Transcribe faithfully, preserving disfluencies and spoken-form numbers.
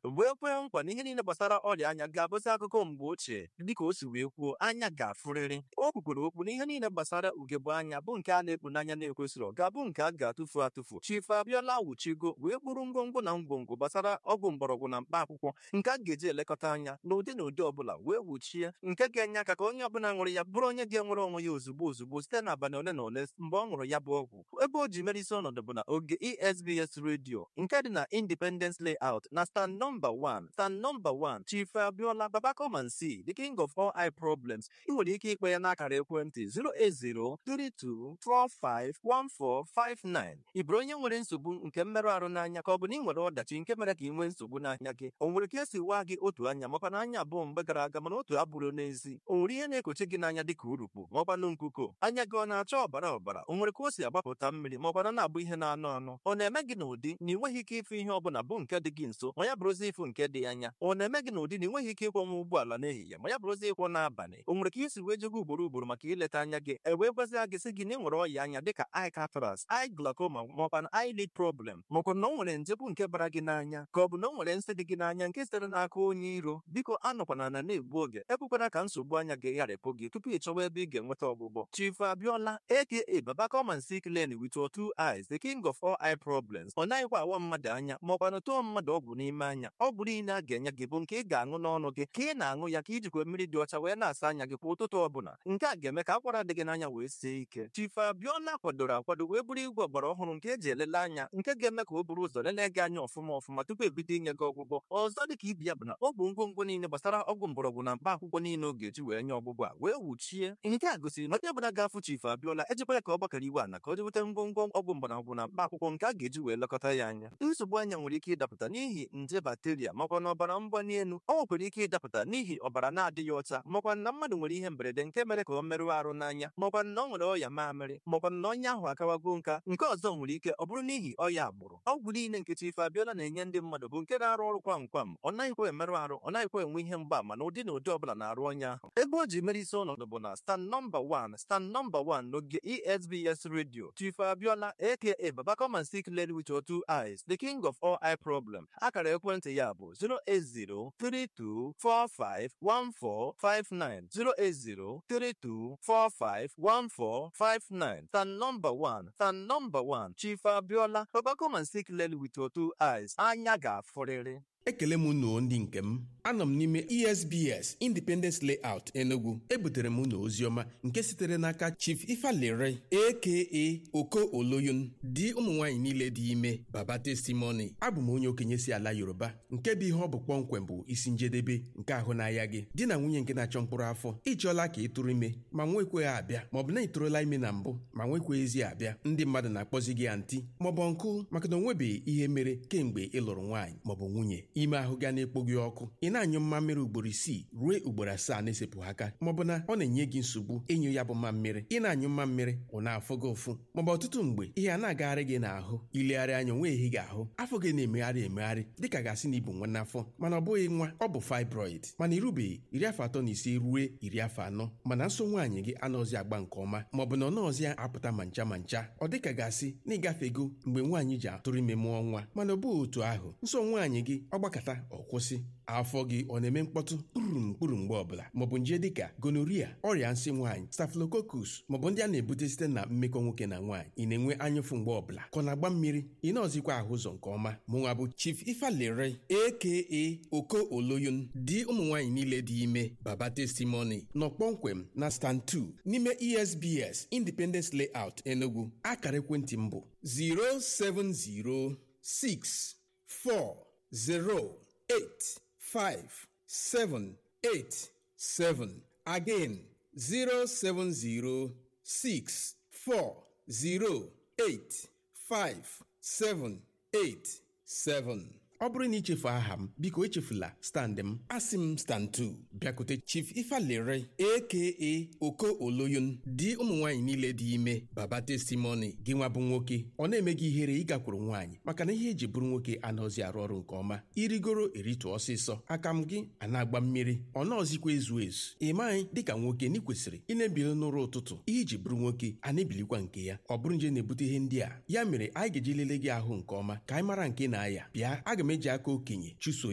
Wee kwee nkwa na ihe niile gbasara ọrịa anya ga-abụzi akụkọ mgbe ochie. Dịka o si wee kwuo, anya ga-afụrịrị. O kwukwere okwu na ihe niile gbasara ugegbe anya bụ nke a na-ekpu n'anya na-ekwesịrị ga-abụ nke a ga-atụfu atụfu. Chief Abiola wuchigo wee kpụrụ ngwongwo na ngwongwo gbasara ọgwụ mgbọrọgwụ na mkpa akwụkwọ nke a ga-eji elekọta anya n'ụdị na ụdị ọbụla, wee wuchie nke ga-enye aka ka onye ọbụla ṅụrụ ya bụrụ onye ga-enwere onwe ya ozugbo ozugbo site n'abalị ole na ole mgbe ọ ṅụrụ ya bụ ọgwụ. Ebe o ji mere isi ọnọdụ bụ na oge E S B S Radio nke dị na Independence Layout na stand number one, stand number one. Chief Abiola, Baba come and see, the king of all eye problems. Ị nwere ike ikpe ya n'akara ekwentị efu efu atọ atọ anọ ise otu anọ ise itoolu. Ị bụrụ onye nwere nsogbu nke mmerụ ahụ n'anya, ka ọ bụ na ị nwere ọdachi nke mere ka ị nwee nsogbu n'anya gị, o nwere ka esi waa gị otu anya makwa na anya abụọ mgbe gara aga mana otu abụrụ n'ezi, o nwere ihe na-ekochi gị n'anya dịka urukpu maọkwanụ nkuko, anya gị ọ na-acha ọbara ọbara, o nwere ka o si agbapụta mmiri maọkwana na-abụ ihe na-anụ anụ, ọ na-eme gị n'ụdị na ị nweghị ike ịfụ ihe ọbụla bụ nke dị gị nso ma ya bụrụzi ịfụ nke dị anya, ọ na-eme gị n'ụdị na ị nweghị ike ịkwọnwa ụgbọala n'ehihie ma ya bụrụzi ịkwọ n'abalị, o nwere ka isi wee jego ugboro ugboro maka ileta anya gị, e wee gwazie gị sị gị na ị nwere ọya anya dịka eye cataract, eye glaucoma maọkwa na eyelid problem, maọkwa na o nwere nje bụ nke bara gị n'anya, ka ọ bụ na o nwere nsị dị gị n'anya nke sitere n'aka onye iro, biko anọkwana na na-egbu oge. Ekwekwana ka nsogbu anya gị gharịpụ gị tupu ị chọwa ebe ị ga-enweta ọgwụgwọ. Chief Abiola, aka Baba come and see clearly with your two eyes, the king of all eye problems, ọ naghịkwa awa mmadụ anya maọkwa na tụọ mmadụ ọgwụ n'ime anya. Ọgwụ niile a ga-enye gị bụ nke ị ga-aṅụ n'ọnụ gị, ka ị na-aṅụ ya ka ijikwa mmiri dị ọcha wee na-asa anya gị kwa ụtụtụ ọbụla. Nke a ga-eme ka akwara dị gị n'anya wee sie ike. Chief Abiola kwadoro akwado wee bụrụ igwe ọgbara ọhụrụ nke eji elele anya, nke ga-eme ka o buru ụzọ lelee gị anya ọfụma ọfụma tupu ebido inye gị ọgwụgwọ. Ọzọ dịka ibi ya bụ na ọ bụ ngwongwo niile gbasara ọgwụ mgbọrọgwụ na mkpa akwụkwọ niile ọ ga-eji wee nye ọgwụgwọ a wee wuchie. Nke a gosiri na onye ọbụla ga-afụ Chief Abiola ejikwa ya ka ọ gbakọrọ iwe ana ka o jeweta ngwongwo ọgwụ mgbọrọgwụ na mkpa akwụkwọ nke a ga-eji wee lekọta ya anya. Nsogbu anya nwere ike ịdapụta n'ihi nje bakteria makwa na ọbara mgbali elu. Ọ nwekwara ike ịdapụta n'ihi ọbara na-adịghị ọcha, makwa na mmadụ nwere ihe mberede nke mere ka ọ merụọ arụ n'anya, makwa na ọ nwere ọya mamịrị, makwa na onye ahụ akawago nka. Nke ọzọ nwere ike ọ bụrụ n'ihi ọya agbụrụ. Ọgwụ niile nke Chief Abiola na-enye ndị mmadụ bụ nke na-arụ ọrụ kwam kwam. Ọ naghịkwa emerụ arụ, ọ naghịkwa enwe ihe mgbaama na ụdị na ụdị ọbụla na-arụ onye ahụ. Ebe o ji mere isi ọnọdụ bụ na stand number one, stand number one n'oge E S B S Radio. Chief Abiola, aka Baba come and see clearly with your two eyes, the king of all eye problem. Akara ekwentị ya bụ efu efu atọ atọ anọ ise otu anọ ise itoolu, efu efu atọ atọ anọ ise otu anọ ise itoolu. Stand number one, stand number one. Chief Abiola, Baba come and see clearly with your two eyes. Anya ga-afụrịrị. Ekele m unu ndị nke m. Anọ m n'ime E S B S Independence Layout, Enugu. Ebutere m unu oziọma nke sitere n'aka Chief Ifalere, aka Oko Oloyun, di ụmụ nwaanyị niile dị ime, Baba Testimony. Abụ m onye okenye si ala Yoruba nke bụ ihe ọ bụ kpọmkwem bụ isi njedebe nke ahụ n'ahịa gị. Di na nwunye nke na-achọ mkpụrụ afọ, ịchọọla ka ị tụrụ ime ma nwekweghị abịa, maọbụ na ị tụrụla ime na mbụ ma nwekweghịzi abịa. Ndị mmadụ na-akpọzi gị aunty maọbụ uncle maka na o nwebeghị ihe mere kemgbe ị lụrụ nwaanyị maọbụ nwunye. Ime ahụ ga na-ekpo gị ọkụ, ị na-anyụ mmammiri ugboro isii ruo ugboro asaa na-esepụ aka, maọbụ na ọ na-enye gị nsogbu ịnyụ ya bụ mmammiri. Ị na-anyụ mmammiri, ọ na-afụ gị ụfụ, maọbụ ọtụtụ mgbe ihe a na-agagharị gị n'ahụ. Ilegharị anya onwe ehi gị ahụ, afọ gị na-emegharị emegharị dịka gasị na ibu nwa n'afọ, mana ọ bụghị nwa, ọ bụ fibroid. Mana irubeghị iri afọ atọ na ise ruo iri afọ anọ, mana nso nwaanyị gị anọzi agba nke ọma, maọbụ na ọ nọọzi apụta ma ncha ma ncha, ọ dịka gasị na ịgafego mgbe nwaanyị ji atụrụ ime mụọ nwa, mana ọ bụghị otu ahụ. Nso nwaanyị gị ọ gbakọta ọ kwụsị, afọ gị ọ na-eme mkpọtụ kpụrụ mkpụrụ mgbe ọbụla, maọbụ nje dịka gonorrhea, ọrịa nsị nwaanyị, staphylococcus, maọbụ ndị a na-ebute site na mmekọ nwoke na nwaanyị. Ị na-enwe anyụfụ mgbe ọbụla ka ọ na-agba mmiri, ị na-ọzikwa ahụ ụzọ nke ọma. Mụnwa bụ Chief Ifalere, aka Oko Oloyun, di ụmụ nwaanyị niile dị ime, Baba Testimony, nọ kpọmkwem na stand two n'ime E S B S Independence Layout, Enugu. Akara ekwentị m bụ efu asaa efu isii anọ efu eight five seven eight seven. Again, zero seven zero six four zero eight five seven eight seven. Ọ bụrụ na ichefu aha m, biko echefula stand m. Asị m stand two, bịakute Chief Ifalere, aka Oko Oloyun, di ụmụ nwaanyị niile dị ime, Baba Testimony. Gị nwa bụ nwoke, ọ na-eme gị ihere ịgakwuru nwaanyị maka na ihe eji bụrụ nwoke anaghịzi arụ ọrụ nke ọma. Irigoro eritu ọsịsọ, aka m gị a na-agba mmiri, ọ nọọzikwa ezu ezu. Ị maghị dịka nwoke na ị kwesịrị ị na-ebili n'ụra ụtụtụ, ihe iji bụrụ nwoke a na-ebilikwa nke ya. Ọ bụrụ nje na-ebute ihe ndị a, ya mere anyị ga-eji lelee gị ahụ nke ọma ka anyị mara nke na-aya. Bịa, aga m m eji aka okenye chụso.